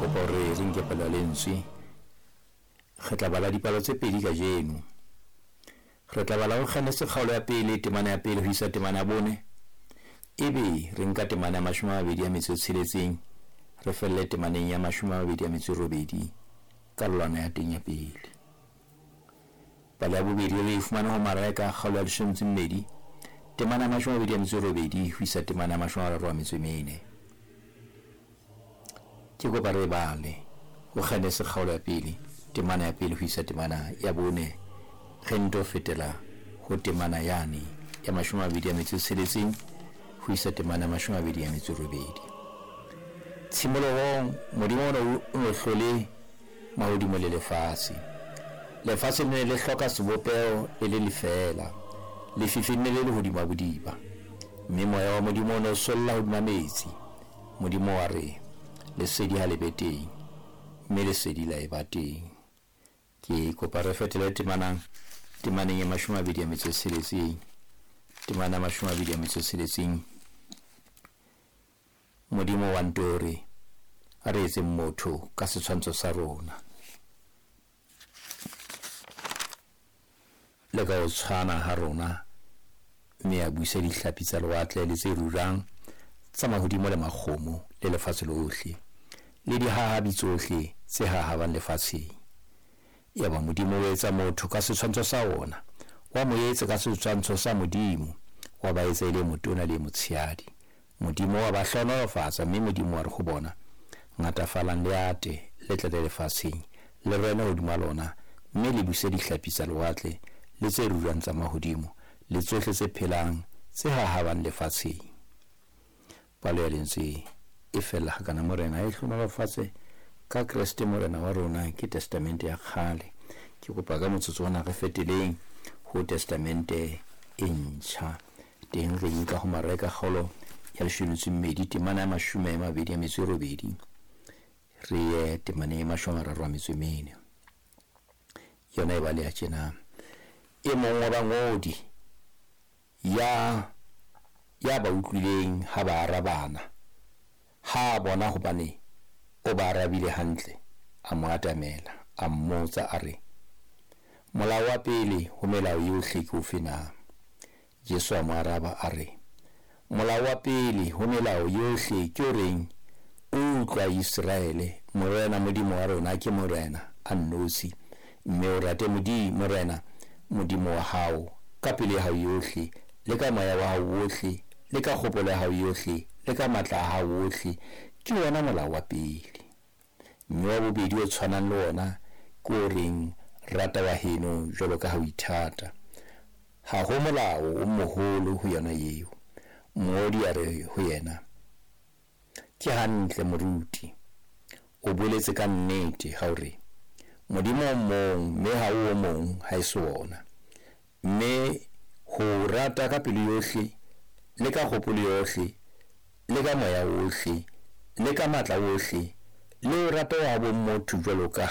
Kopa hore re nke palo ya lentswe. Re tla bala dipalo tse pedi kajeno. Re tla bala ho Genese kgaolo ya pele, temana ya pele ho isa temana ya bone. Ebe re nka temana ya 26, re felle temaneng ya 28, karolwana ya teng ya pele. Palo ya bobedi re e fumana ho Mareka kgaolo ya 12, temana ya 28 ho isa temana ya 34. Ke kopa re bale ho Genese kgaolo ya pele, temana ya pele ho isa temana ya bone, re nto fetela ho temana yane ya 26 ho isa temana ya 28. Tshimolohong Modimo o no hlole mahodimo le lefatshe. Lefatshe le ne le hloka sebopeho le le lefeela, lefifi le ne le le hodima bodiba, mme moya wa Modimo o ne o solla hodima metsi. Modimo wa re, lesedi ha le be teng, mme lesedi la eba teng. Ke kopa re fetele temaneng ya 26, temana ya 26. Modimo wa nto re, a re etseng motho ka setshwantsho sa rona, le ka ho tshwana ha rona, mme a buise dihlapi tsa lewatle le tse rurang tsa mahodimo le makgomo le lefatshe lohle, le dihahabi tsohle tse hahabang lefatsheng. Yaba Modimo o etsa motho ka setshwantsho sa wona, wa mo etsa ka setshwantsho sa Modimo, wa ba etsa e le motona le motshehadi. Modimo wa ba hlohonolofatsa, mme Modimo wa re ho bona, ngatafalang le ate, le tlale lefatsheng, le rene hodima lona, mme le buse dihlapi tsa lewatle le tse rurang tsa mahodimo, le tsohle tse phelang tse hahabang lefatsheng. Palo ya lentswe e fella hakana. Morena a e hlohonolofatse ka Kreste Morena wa rona. Ke Testamente ya kgale. Ke kopa ka motsotso ona re feteleng ho Testamente e ntjha. Teng re nka ho Mareka kgaolo ya 12, temana ya 28, re ye temaneng ya 34. Yona e baleha tjena. E mong wa bangodi ya ba utlwileng ha ba arabana, ha a bona hobane o ba arabile hantle, a mo atamela, a mmotsa a re, molao wa pele ho melao yohle ke ofe na? Jesu a mo araba a re, molao wa pele ho melao yohle ke o reng, utlwa Iseraele, Morena Modimo wa rona ke Morena a nnotshi, mme o rate Morena Modimo wa hao ka pelo ya hao yohle, le ka moya wa hao wohle, le ka kgopolo ya hao yohle, le ka matla a hao wohle. Ke wona molao wa pele. Mme wa bobedi o tshwanang le wona ke o reng, rata wa heno jwalo ka ha o ithata. Ha ho molao o moholo ho yona eo. Mongodi a re ho yena, ke hantle moruti, o boletse ka nnete ha o re, Modimo o mong, mme ha o o mong ha e se wona. Mme ho rata ka pelo yohle, le ka kgopolo yohle, le ka moya wohle, le ka matla wohle, le o rata wa bo motho jwalo ka